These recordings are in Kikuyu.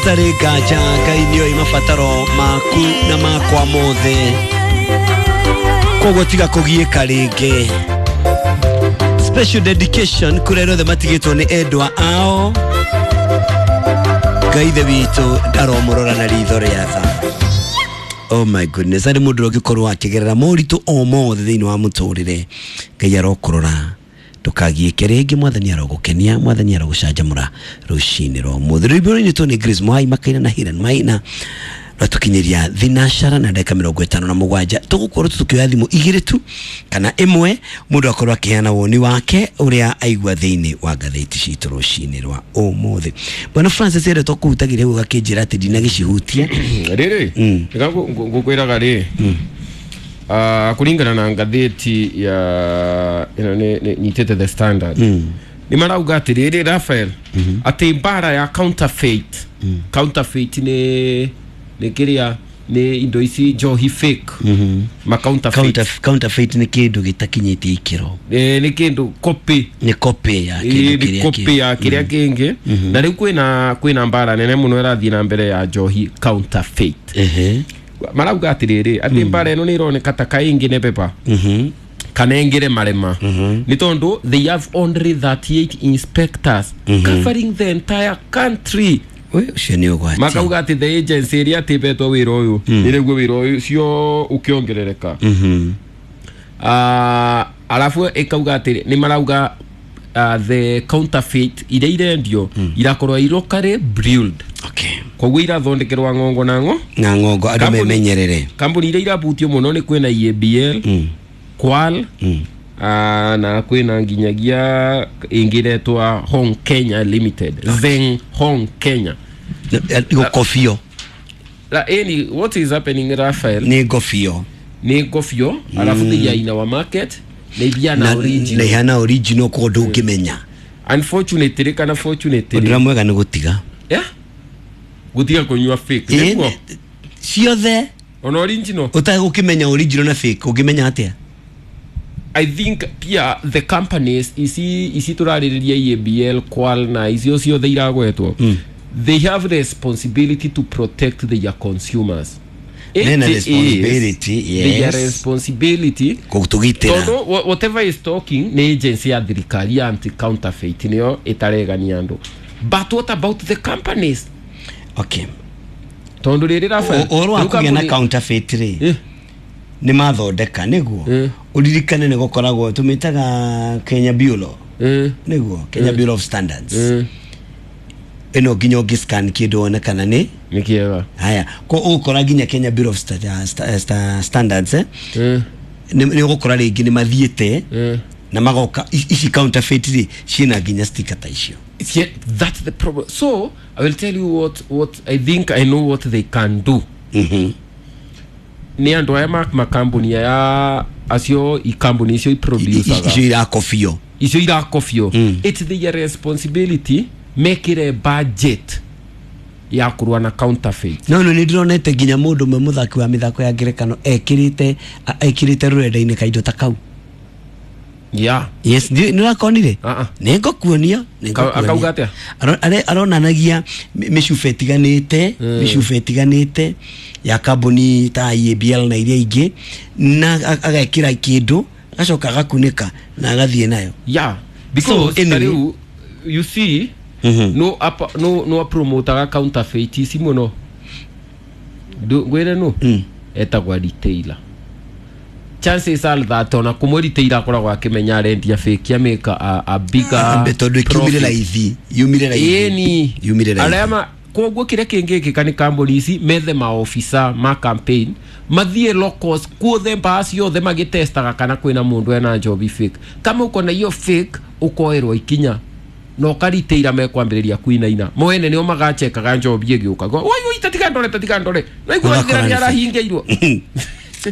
Hatarĩ nganja Ngai nĩoĩ mabataro maku na makwa mothe, koguo tiga kũgiĩka rĩngĩ. Special dedication kũrĩ arĩa othe matigĩtwo nĩ endwa ao. Ngai ithe witũ ndaromũrora na ritho rĩa tha. Oh my goodness, arĩ mũndũ ũngĩkorwo akĩgerera moritũ o mothe thĩinĩ wa mũtũrĩre, Ngai arokũrora ndũkagiĩke rĩngĩ. Mwathani arogũkenia, Mwathani arogũcanjamũra rũcinĩ rwa ũmũthĩ. Rwĩmbo rũinĩtwo nĩ Grace Mwai Makaina na Hiran Maina rwatũkinyĩria thinacara na ndagĩka 57. Tũgũkorwo tũkĩoya thimũ igĩrĩ tu kana ĩmwe, mũndũ akorwo akĩheana woni wake ũrĩa aigua thĩinĩ wa ngathĩti citũ rũcinĩ rwa ũmũthĩ. Bwana Francis ere tũkũhutagia rĩu ũgakĩnjĩra atĩ ndinagĩcihutia. Rĩrĩ rika ngũkwĩraga rĩ, kũringana na ngathĩti ya ĩno nĩ nyitĩte The Standard, nĩ marauga atĩrĩrĩ, Raphael, atĩ mbara ya counterfeit. Counterfeit nĩ kĩrĩa nĩ indo ici njohi fake, ma counterfeit. Counterfeit nĩ kĩndũ gĩtakinyĩtie ikĩro. Nĩ kĩndũ copy. Nĩ copy ya kĩndũ nĩ kĩrĩa copy ya kĩrĩa kĩngĩ. Na rĩu kwĩna mbara nene mũno ĩrathiĩ na mbere ya njohi counterfeit. Marauga atĩrĩrĩ, atĩ mbara ĩno nĩ ĩroneka ta kaingĩ nĩ pepa kana ĩngĩre marema, nĩ tondũ they have only 38 inspectors covering the entire country. We, ũcio nĩ ũgwati. Makauga atĩ the agency ĩrĩa atĩbetwo wĩra ũyũ nĩ rĩguo wĩra ũyũ cio ũkĩongerereka. Arabu ĩkauga atĩ nĩ marauga the counterfeit iria irendio irakorwo i locally brewed. Koguo irathondekerwa ng'ongo na ng'o na ng'ongo andũ memenyerere. Kambuni iria irabutio mũno nĩ kwĩna EABL, Kwal, na kwĩna nginyagia ĩngĩ ĩretwa Hong Kenya Limited, Zeng Hong Kenya. Gũkobio. La, ĩni what is happening, Raphael? Nĩ ngobio. Nĩ ngobio, arabu they are in our market na ibiana na original. Ihana original, koguo ndũngĩmenya. Unfortunately kana fortunately, ũndũ ũrĩa mwega nĩ gũtiga. Yeah, gũtiga kũnyua fake. Nĩguo. Ciothe. Ona original. Ũtagũkĩmenya original na fake, ũngĩmenya atĩa? I think pia the companies ici tũrarĩrĩria, EABL, Kwal na icio ciothe iragwetwo, they have responsibility to protect their consumers. It Mena is responsibility, their yes. responsibility gũtũgitĩra. Tondũ whatever is talking nĩ agency ya thirikari ya anti counterfeit nĩyo ĩtaregania andũ, but what about the companies? Tondũ rĩrĩ, Raphael, Ũhoro wa rĩu kũgĩa na counterfeit rĩ, nĩ mathondeka nĩguo ũririkane nĩ gũkoragwo tũmĩtaga Kenya Bureau, nĩguo Kenya Bureau of Standards. Ĩno nginya ũngĩ-scan kĩndũ wone kana nĩ nĩ kĩega. Haya, ko ũgũkora nginya Kenya Bureau of Standards, eh? Nĩ ũgũkora rĩngĩ nĩ mathiĩte na magoka ici counterfeit rĩ ciĩna nginya sticker ta icio. Yeah, that's the problem. So I will tell you what I think I know what they can do. Nĩ andũ aya makambuni aya acio ikambuni icio iproducaga icio irakobio. Icio irakobio, it's their responsibility mekire budget ya kũrũa na counterfeit. No nĩ ndĩronete nginya mũndũ ũmwe mũthaki wa mĩthako ya ngerekano ekĩrĩte rũrenda-inĩ kaindo ta kau. Yes, nĩ ũrakonire? Ah, ah. Nĩ ngũkuonia, nĩ ngũkuonia. Akauga atĩa? Aronanagia mĩcuba ĩtiganĩte ya kambuni ta EABL na iria ingĩ, na agekĩra kĩndũ, agacoka agakunĩka na agathiĩ nayo. Yeah, because So, anyway. ta rĩu you see, no apa no apromotaga counterfeit ici mũno. Ngwĩre no etagwa retailer. Chances are that ona kũmwe retailer akoragwo akĩmenya arendia fake amĩka a bigger tondũ ĩkiumire profit. Raithi yumire raithi. Ĩni. Yumire raithi. Arĩa ma koguo kĩrĩa kĩngĩkĩka nĩ kambuni ici methe maofisa ma campaign mathiĩ locals kuothe mbaa ciothe magĩtestaga kana kwĩna mũndũ ena njobi fake. Kama uko na hiyo fake, ũkoerwo ikinya na ũkariteira mekwambĩrĩria kuinaina mwene nĩo magachekaga njobi ĩgĩũka, woi woi, tatiga ndore, tatiga ndore, naigua. Ũgakora nĩ nĩ fake. arahingĩirwo.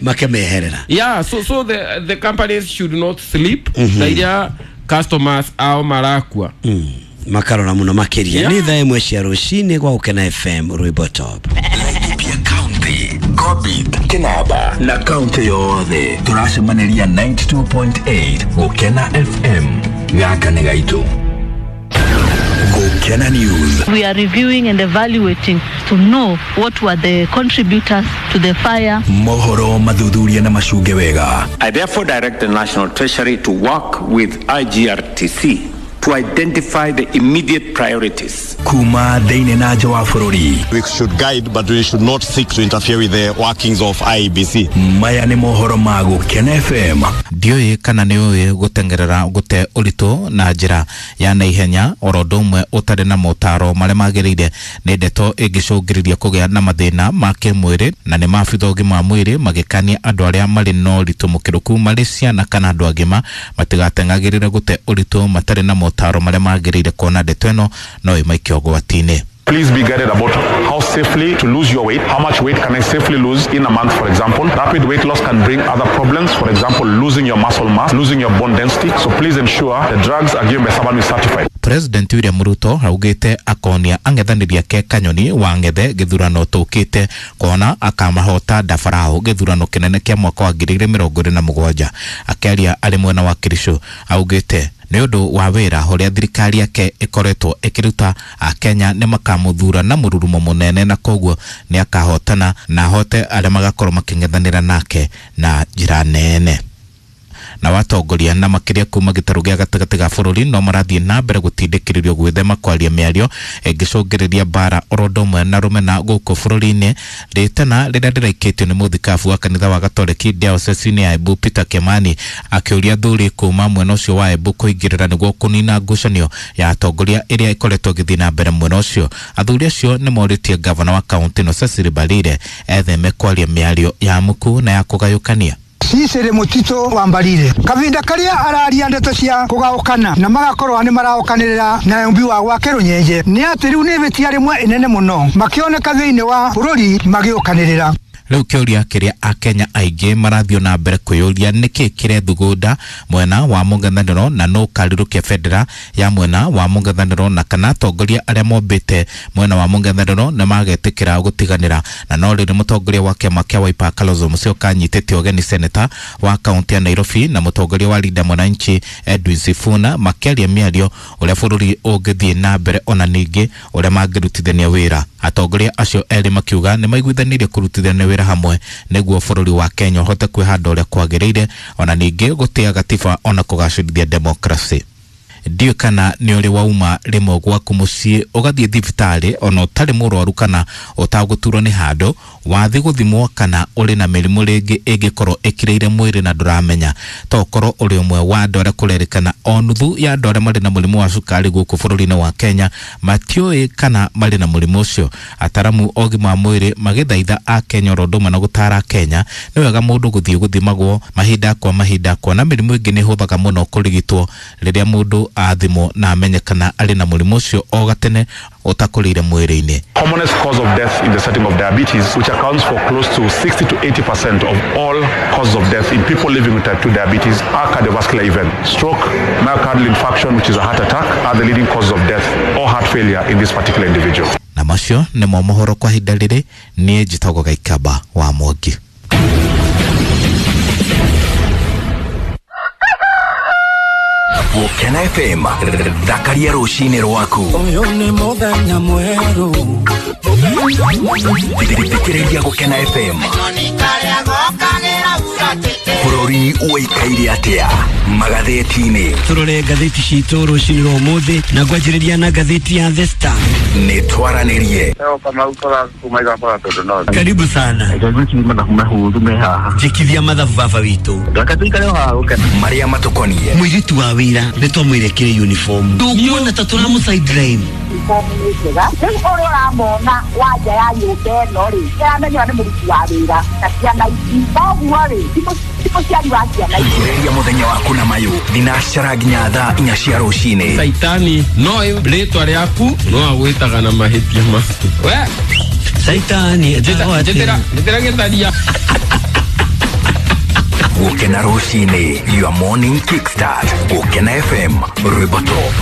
Makemeherera. Yeah, so the companies should not sleep na iria customers ao marakua. Makarora muno makiria. Nĩ thaa 1 cia rũcinĩ gwa Gũkena FM, rwĩmbo top. Laikipia County, Ngobit, Kinaba na kaunti yothe tũracemaniria 92.8 Gũkena FM. Gaka nĩ gaitũ. Gũkena. Gukena News. We are reviewing and evaluating to know what were the contributors to the fire. Mohoro mathuthuria na macunge wega. I therefore direct the National Treasury to work with IGRTC to identify the immediate priorities. Kuma thĩinĩ na nja wa bũrũri. We should guide, but we should not seek to interfere with the workings of IEBC. Maya nĩ mohoro ma Gũkena FM. Ndiũĩ kana nĩ ũĩ gũteng'erera gũte ũritũ na njĩra ya naihenya oro ũndũ ũmwe ũtarĩ na motaro marĩa magĩrĩire nĩ ndeto ĩngĩcũngĩrĩria kũgĩa na mathĩna ma kĩmwĩrĩ na nĩ maabitha ũgima wa mwĩrĩ magĩkania andũ arĩa marĩ na ũritũ mũkĩrũku marĩ ciana kana andũ agima matigateng'agĩrĩre gũte ũritũ matarĩ na motaro marĩa magĩrĩire kuona ndeto ĩno no ĩmaikie ũgwati-inĩ. Please be guided about how safely to lose your weight. How much weight can I safely lose in a month, for example? Rapid weight loss can bring other problems, for example, losing your muscle mass, losing your bone density. So please ensure the drugs are given by someone who is certified. President William Ruto augite akonia ang'ethanĩri ake Kanyoni wa Ng'ethe gĩthurano tũkĩte kuona akamahota Ndabarao gĩthurano kĩnene kĩa mwaka wa 2027. Akĩaria arĩ mwena wa Kericho augĩte nĩ ũndũ wa wĩra ũrĩa thirikari yake ĩkoretwo ĩkĩruta Akenya nĩ makamũthura na mũrurumo mũnene na koguo nĩ akahotana na ahote arĩa magakorwo makĩng'ethanĩra nake na njĩra nene. Na watongoria na makĩria kuma gĩtarũ gĩa gatagatĩ ga bũrũri no marathiĩ na mbere gũtindĩkĩrĩrio gwĩthema kwaria mĩario ĩngĩcũngĩrĩria mbara oro ũndũ ũmwe na rũmena gũkũ bũrũri-inĩ. Rĩtana rĩrĩa rĩraikĩtio nĩ mũthikabu wa kanitha wa Gatoreki diocese-inĩ ya Embu Peter Kimani akĩũria athuri kuma mwena ũcio wa Embu kũingĩrĩra nĩguo kũnina ngucanio ya atongoria ĩrĩa ĩkoretwo ĩgĩthiĩ na mbere mwena ũcio. Athuri acio nĩ morĩtie gavana wa kaũntĩ ĩno Cecily Mbarire etheme kwaria mĩario ya muku na ya kũgayũkania. Cicere mutito wa Mbarire kavinda karia araria ndeto cia kugaukana na magakorwo ni maraukanirira na umbi wa gwake runyenje ni ati riu ni ibitia rimwe inene muno makioneka thiini wa bururi magiukanirira. Rĩu kĩũria kĩrĩa Akenya aingĩ marathiĩ na mbere kwĩyũria nĩkĩ kĩrethugunda mwena wa mũng'ethanĩro na nũ ũkarirũkia bendera ya mwena wa mũng'ethanĩro na kana atongoria arĩa mombĩte mwena wa mũng'ethanĩro nĩ magetĩkĩra gũtiganĩra. Na no rĩrĩ mũtongoria wa kĩama kĩa Wiper Kalonzo Musyoka anyitĩte ũgeni seneta wa kaũntĩ ya Nairobi na mũtongoria wa Linda Mwananchi Edwin Sifuna makĩaria mĩario ũrĩa bũrũri ũngĩthiĩ na mbere ona ningĩ ũrĩa mangĩrutithania wĩra. Atongoria acio erĩ makiuga nĩ maiguithanirie kũrutithania wĩra hamwe nĩguo bũrũri wa Kenya ũhote kwĩhanda ũrĩa kwagĩrĩire ona ningĩ gũtĩa gatiba ona kũgacĩrithia demokrasi. Ndiũĩ kana nĩ ũrĩ wauma rĩmwe gwaku mũciĩ ũgathiĩ thibitarĩ ona ũtarĩ mũrwaru kana ũtagũturwo nĩ handũ wathiĩ gũthimwo kana ũrĩ na mĩrimũ rĩngĩ ĩngĩkorwo ĩkirĩire mwĩrĩ na ndũramenya. To ũkorwo ũrĩ ũmwe wa andũ arĩa kũrerĩkana o nuthu ya andũ arĩa marĩ na mũrimũ wa cukari gũkũ bũrũri-inĩ wa Kenya matiũĩ kana marĩ na mũrimũ ũcio. Ataramu a ũgima wa mwĩrĩ magĩthaitha Akenya oro ũndũ ũmwe na gũtara Akenya nĩ wega mũndũ gũthiĩ gũthimagwo mahinda kwa mahinda kuona mĩrimũ ĩngĩ nĩ ĩhũthaga mũno kũrigitwo rĩrĩa mũndũ athimwo na amenyekana arĩ na mũrimũ ũcio o gatene ũtakũrĩire mwĩrĩ-inĩ. Commonest cause of death in the setting of diabetes, which accounts for close to 60 to 80% of all causes of death in people living with type 2 diabetes, are cardiovascular events. Stroke, myocardial infarction, which is a heart attack, are the leading causes of death or heart failure in this particular individual. Na macio nĩmo mohoro kwa ihinda rĩrĩ. Niĩ njĩtagwo Gaikaba wa Mwangi. Gũkena FM thakaria rũcinĩ rwaku. Ũyũ nĩ mũthenya mwerũ. Thikĩrĩria Gũkena FM. Bũrũri ũikaire atĩa magathĩti-inĩ? Tũrore ngathĩti citũ rũcinĩ rwa ũmũthĩ na ngwanjĩrĩria na ngathĩti ya The Star. Nĩ twaranĩrie. Karibu sana. Njĩkithia mathabu baba witũ. Marĩa matũkoniĩ. Mũirĩtu wa wĩra nĩ twamwĩre kĩrĩ uniform. Ndũkuona ta tũramũ sideline. Rĩu ũrĩa ũramona wa nja ya nyũmba ĩno rĩ, nĩaramenya nĩ mũruti wa wĩra na ciana ici. Koguo rĩ, ti mũciari wa ciana ici. Ambĩrĩria mũthenya waku na mayũ thinacara nginya thaa 4 cia rũcinĩ. Saitani no rĩtwa rĩaku no agwĩtaga na mahĩtia maku. We Saitani njĩtĩra gĩtharia. Gũkena rũcinĩ, your morning kickstart. Gũkena FM, rwĩmbo top.